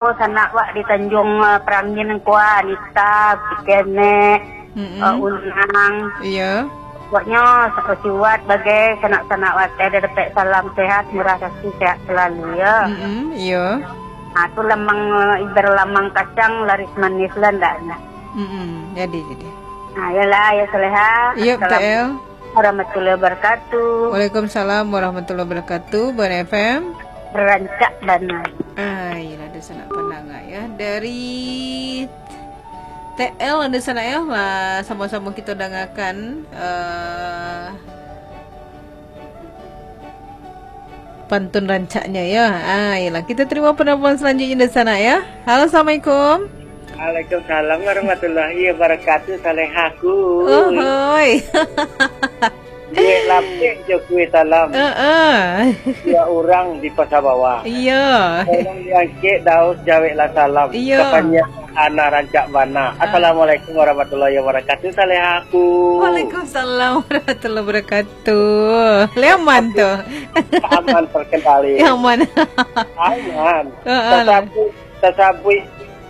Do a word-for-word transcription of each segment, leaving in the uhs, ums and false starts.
sanak wak di Tanjung, eh, Perangin ko, Anita, Kenek, Mm-mm. eh, Unang. Iyo. Pokoknyo, sa-, siwat bagai sanak-sanak wak, ado dapek salam sehat, murah kasih, sehat selalu, yo. Mm-mm, iyo. Ha, tu lamang, eh, ibar lamang kacang, laris manis lah ndaknyo. Mm-mm, jadi, jadi. Ha, iyolah, ya Saleha. Iyo, Assalamualaikum T L. Warahmatullahi wabarakatuh. Waalaikumsalam warahmatullahi wabarakatuh. Bana F M. Rancak bana. Ah, iyolah, ado sanak pandanga, ya. Dari T L ado sanak, ya. Lah, samo-samo kito dangakan, eh, pantun rancaknyo, ya. Ah, iyolah, kito tarimo penelpon salanjutnyo dari sanak, ya. Halo, assalamualaikum. Waalaikumsalam warahmatullahi wabarakatuh, Salehaku. Ohoi. Duit lapeh jo kuih talam. Heeh. Dua urang di Pasar Bawah. Iya. Tolong diangkek daus jaweklah salam. Iya. Kapanya anak rancak bana. Ah. Assalamualaikum warahmatullahi wabarakatuh, Salehaku. Waalaikumsalam warahmatullahi wabarakatuh. Leman tu. Aman terkendali. Aman. Aman. Heeh lah. Tasabuik, tasabuik,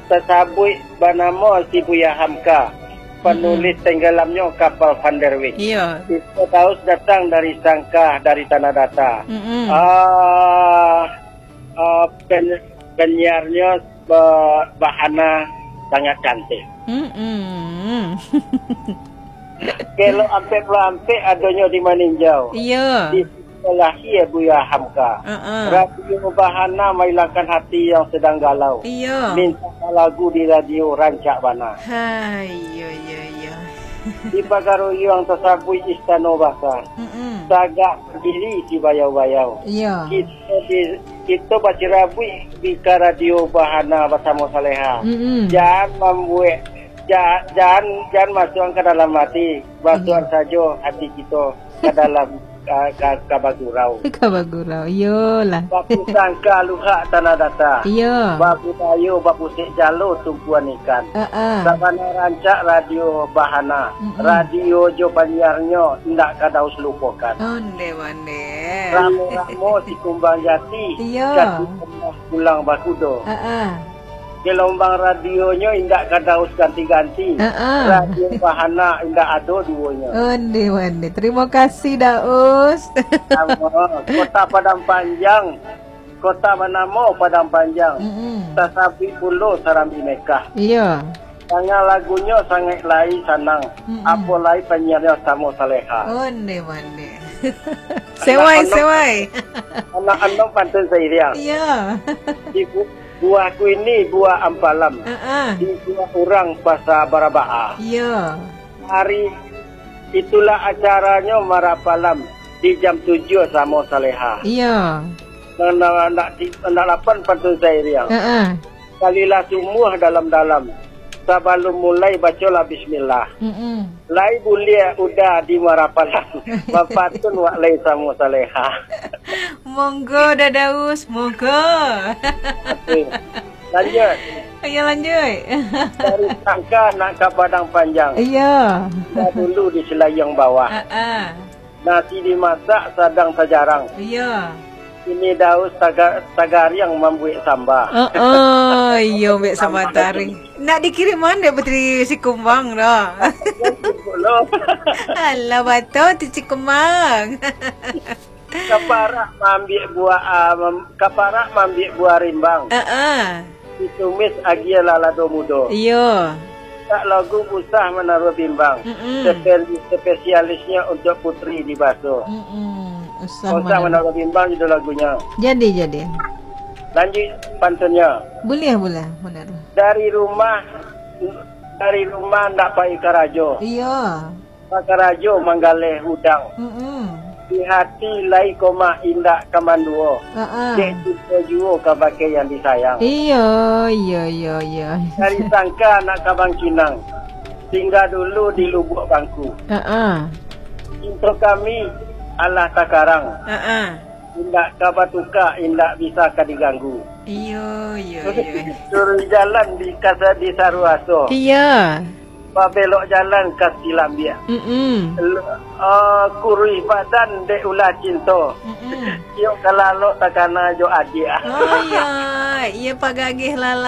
tasabuik banamo si Buya Hamka, panulis Mm-mm. tenggelamnyo kapal Van der Wijck. Iya. Itu daus datang dari Sangkah, dari Tanah Data. Mm-mm. Ah, ah, pen-, penyiarnyo ba-, bahana sangat cantik. Mm-mm. Kelok ampek puluah ampek adonyo di Maninjau. Iya. Di siko lahia Buya Hamka. Heeh. Radio Bahana mailangkan hati yang sedang galau. Iya. Minta lagu di radio rancak bana. Hai, iya, iya, iya. Di Pagaruyuang tasabuik Istano Baka. Mm-mm. Tagak badiri si Bayau-Bayau. Iya. Kito di, kito bacirabuik di ka Radio Bahana basamo Saleha. Mm-mm. Jan mambuek, ja-, jan, jan masuak ka dalam hati. Masuak Iya. sajo hati kito ka dalam, ka, ka, ka bagurau. Ka bagurau, iyolah. Bapusangka luhak Tanah Data. Iyo. Babudayo bapusek jalo tumpuan ikan. Heeh. Sabana rancak Radio Bahana. Mm-mm. Radio jo panyiarnyo indak ka daus lupokan. Onde, onde. Ramo-ramo si kumbang jati. Iyo. Kati pulang bakudo. Heeh. Gelombang radionyo indak ka daus ganti-ganti. Heeh. Radio Bahana indak ado duonyo. Onde, onde. Terima kasih, Daus. Samo. Kota Padang Panjang. Kota banamo Padang Panjang. Mm-mm. Tasabuik pulo Sarambi Mekah. Iya. Danga lagunyo sangaik lai sanang. Mm-mm. Apo lai panyiarnyo samo Saleha. Onde, onde. Sewai, Anak-anak sewai. Anak andong pantun sairiang. Iya. Ibu Buah kuini, buah ampalam. Heeh. Di buah urang pasa barabaa. Iyo. Hari itulah acaranyo marapalam di jam tujuh samo Saleha. Iyo. Nan, nan, nak, nak lapan pantun sairiang. Heeh. Kalilah sumuah dalam-dalam. Sabalum mulai, bacolah bismillah. Mm-mm. Lai buliah uda di marapalam. Bapatun wak lai samo Saleha. Monggo, Dadaus, monggo. Oke. Lanjut. Ayo, lanjut. Dari Sangka nak ka Padang Panjang. Iya. Dahulu di Selayang Bawah. Ah, ah. Nasi dimasak sadang tajarang. Iya. Ini Daus taga-, tagariang mambuek samba. Oh, oh, iyo, ambiak samba taring. Nak dikiriman dek Putri Sikumbang dah. Alah, bato tu Sikumbang. Kaparak mambiak buah, ah, mam-, kaparak mambiak buah rimbang. Heeh. Ditumis agia lalado mudo. Iyo. Tak lagu usah manaruah bimbang. Mm-mm. Sepe-, spesialisnya untuk putri di baso. Mm-mm. Usah Usah manaruah. Manaruah bimbang judul lagunya. Jadi, jadi. Lanjut pantunnya. Boleh, boleh, boleh. Dari rumah, dari rumah ndak pai karajo. Iyo. Bakarajo manggaleh udang. Mm-mm. Di hati lai koma indak ka manduo. Ha-a. Dek cinto juo ka bakeh yang disayang. Iyo, iyo, iyo, iyo. Dari Sangka nak ka Bangkinang. Singgah dulu di Lubuak Bangku. Ha-a. Cinto kami alah takarang. Ha-a. Indak ka batuka, indak bisa ka diganggu. Iyo, iyo, iyo. Turun jalan di kasa-, di Saruaso. Iyo. Babelok jalan ka Silambiak. Mm-mm. L- uh, kuruih badan dek ulah cinto. Mm-mm. Iyo kalalok takana jo adiak. Oh ya, iya pagagih lala.